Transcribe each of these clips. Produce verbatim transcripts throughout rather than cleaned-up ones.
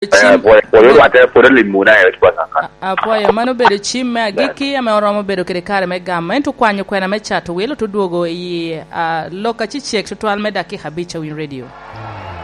Eh, pwod, pwod orwatte, pwod olimwu na, eh, wec bot kan. A-, apwoyo, mano obedo cim me agikki ame oromo bedo kede kare me gamo. Ento kwanyo kwena me cato wilo te dwogo i, ah, lok acecek tutwal me dakika abic a Winy Radio.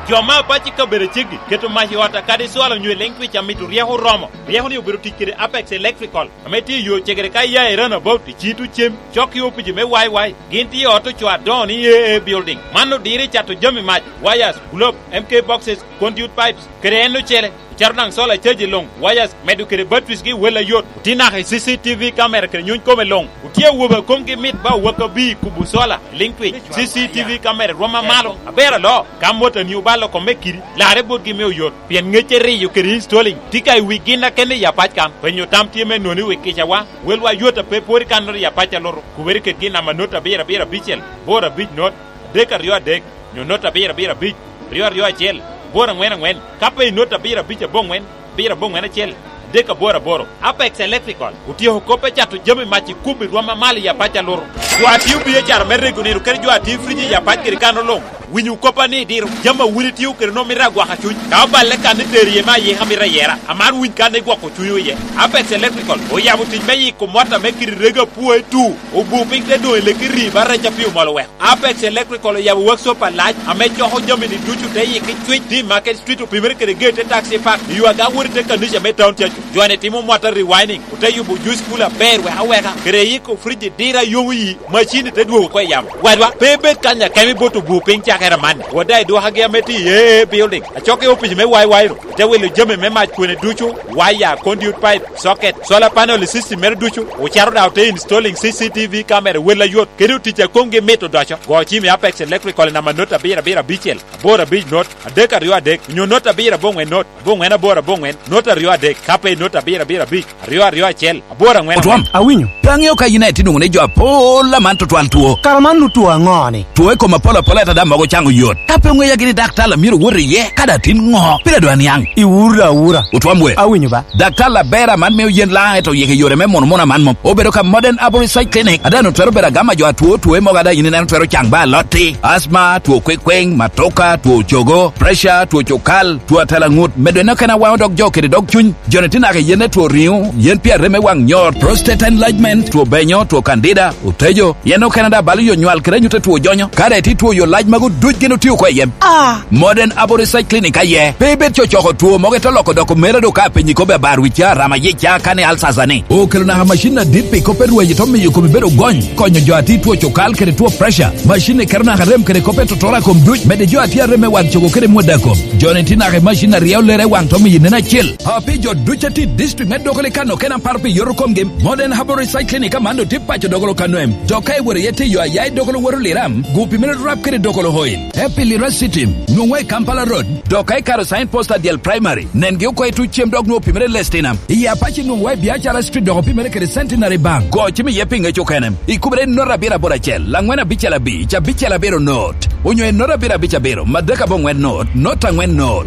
Jo me apac i kabedo ceggi keto mac i ot a kadi cwalo nyo i leŋ twic amito ryeko oromo. Ryeko-ni obedo tic kede Apex Electrical, ame tye i yo cegere ka iya i Runabout, i Cito Cem, cok i opici me Y Y. Gin tye i ot ocoo adoŋo ni A A Building. Man odiro i cato jami mac, wires, globe, M K boxes, conduit pipes, kede en ocele. Ocito daŋ solar charge luŋ, wires, medo kede batteries gi wel ayot. Otye naka i C C T V camera kede nyuny kome luŋ. Otye awobe a komgi mit ba owaka bi kubo solar, liŋ twic. C C T V camera rwom amalo, aber aloo. Ka motoni obalo kome kidi, larre botgi me oyot. Pien ŋecce riyo kede installing tye ka i wi gin a kende i apac kan. Penyo tam tye me noni wi kicawa, welwa yot a pe pwod i kannoro i apac a lutu. Kubere kedgi i namba not abiro abiro abicel, aboro abic not, adek aryo adek, nyo not abiro abiro abic, aryo aryo acel, aboro aŋwen aŋwen. Ka pe i not abiro abic aboŋwen, abiro aboŋwen acel, adek aboro aboro. Apex Electrical otyeko kop me cato jami mac i kubbi rwom amalo i apac a lutu. Jo a tio biacara me rego nino kede jo a tio friji i apac kede kan oloŋ. Winyo koppa ni diro jami a wun itio kede nwoŋo mito agwaka cuny. Ka oballe kan itero iye me ayika mito ayera, aman winy kan igwoko cuny iye. Apex Electrical oyabo tic me yiko mot ame kidi rego apwoe tu, obu piny te doŋ i leki rii ba rec a pi omol oweko. Apex Electrical oyabo workshop alac ame coko jami-ni ducu te yiki cwic, tye i Market Street, opimere kede gate te Taxi Park, i yo aga wot i te kanica me town cacu. Jo-ni timo mota rewinding, ote yubo juice cooler aber wek aweka, kede yiko friji diro a yomo yi, macin-ni te dwogo oko i yamo. Wadwa, pe ibed kany akemo ibot obu piny cakere amanni. Wot daŋ idwokagi ame tye i A A Building, acok i opic me Y Y ru, ite wilo jami me mac kwene ducu, waya, conduit pipe, socket, solar panel i system mere ducu, ocito daŋ ote installing C C T V camera wel ayot, kede otic a komgi mit odoco. Go cim i Apex Electrical i namba not abiro abiro abicel, aboro abic not, adek aryo adek, nyo not abiro aboŋwen not, aboŋwen aboro aboŋwen, not aryo adek, ka pe i not abiro abiro abic, aryo aryo acel, aboro aŋwen aŋwen. Otwom, awinyo. Pe aŋeo ka yin aye tye nwoŋo ni jo apol aman tutwal two. Kara man nu two aŋo-ni? Two i kom apol apol ata daŋ mogo caŋo yot. Ka pe oŋeya gini daktar a myero wot iye, ka daŋ tin ŋo? Pire dwa niaŋ. Iwura awura. Otwom we. Awinyo ba. Daktar aber aman mio yen laŋ eto yeke yore me mono mono aman mom. Obedo ka Modern Arborist Side Clinic, a daŋ otwero bedo agama jo atwo two mogo a daŋ yin ineno twero caŋ ba alotti, asma, two kwekweng, matoka, two cogo, pressure, two cokal, two atela ŋut, medo en okene awaŋo dog jo kede dog cuny. Jo-ni tye naka i yen me two riŋo, yen pi arem me waŋ nyor, prostate enlargement, two benyo, two candida, otejo, yen okene daŋ balo yo nywal kede anyut a two jonyo. Ka daŋ itye two yo lac magu duc gin otio oko i yem. Ah! Modern Abo Research Clinic aye. Pe ibed cocoko two mogo ite loko doko mere do ka apenyi kobbe abar wicca, rama yica, kane alsasa ni. Okelo naka macin adit pi kop me rweny ito miyo kome bedo gony, konyo jo a tye two cokal kede two pressure. Macin-ni keto naka rem kede kop me totoro a kom duc, medde jo a tye arem me waŋ cogo kede mwodda kom. Jo-ni tye naka i macin a ryeo lere i waŋ to miyo nen acel. A pi jo duc a tye i district me Dogolo i kano kena paro pi yoto komgi, Modern Herbal Research Clinic aman otye paco Dogolo kano em. Dok ka iworo iye tiyo aya i Dogolo woto Liram, gupi mere rap kede Dogolo Oil. Happy Lira City, nwoŋwa i Kampala Road, dok ka ikaro sign post a Dyel Primary, nengi oko i tuc cem dok nwoŋo opimere Lestinam. I Apac nwoŋwa i Biacara Street dok opimere kede Centenary Bank. Go cim iye pi ŋec okene. Ikubere i not abiro aboro acel, angwen abicel abic, abicel abiro not, onyo i not abiro abic abiro, madek aboŋwen not, not angwen not.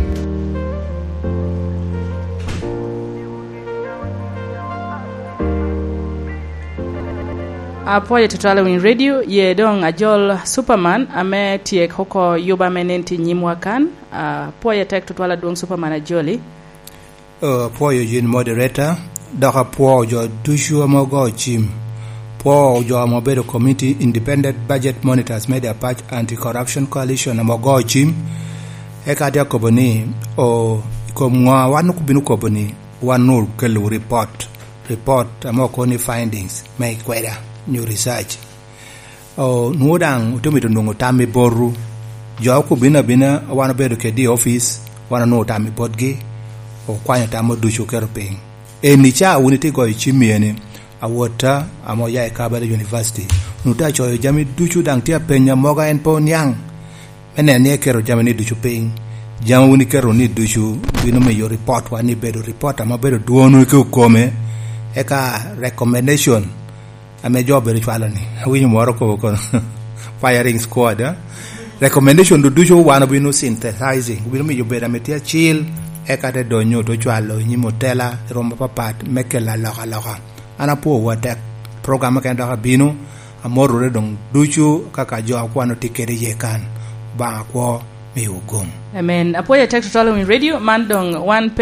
Apwoyo tutwal i Winy Radio, ye doŋ ajol Superman ame tyek oko yuba ame nen tye i nyimwa kan. Apwoyo tek tutwal adwoŋ Superman ajoli. Oh, apwoyo yin moderator, dok apwoo jo ducu ame ogo cim. Pwoo jo ame obedo Community Independent Budget Monitors me The Apac Anti-Corruption Coalition ame ogo cim. Eka atye akobo ni, o, i kom ŋo wan obino kobo ni wan onwoŋo okellowu report, report ame okobo ni findings me ikweda nyo research. O, nwoŋo daŋ ote mito nwoŋo tam i botwu. Jo okobino abina, wan obedo kedgi i opic, wan onwoŋo tam i botgi, okwanyo tamwu ducu oketo piny. Eni ca wun itye goyo cim iye ni, awotta ame oya i Kabarak University, onwoŋo tye acoyo jami ducu, daŋ tye apenya moga en pe oniaŋ, me neno ni eketo jami ni ducu piny. Jami wun iketo ni ducu bino miyo report wa ni bedo report ame obedo dwon ki okome, eka recommendation ame jo obedo cwalo ni. Awinyo moro kobo kono, firing squad, eh? Recommendation du ducu wan obino synthesizing, obino miyo bedo ame tye acil, eka te donyo te cwalo i nyim otela i rwom apapat me kelo alokaloka. An apwowu atek. Program mukene dok abino, amorrere doŋ ducu kaka jo a kwan otye kede iye kan. Obaŋa kwo. miwu gum. Amen. Apwoyo atek tutwal i radio, man doŋ wan pe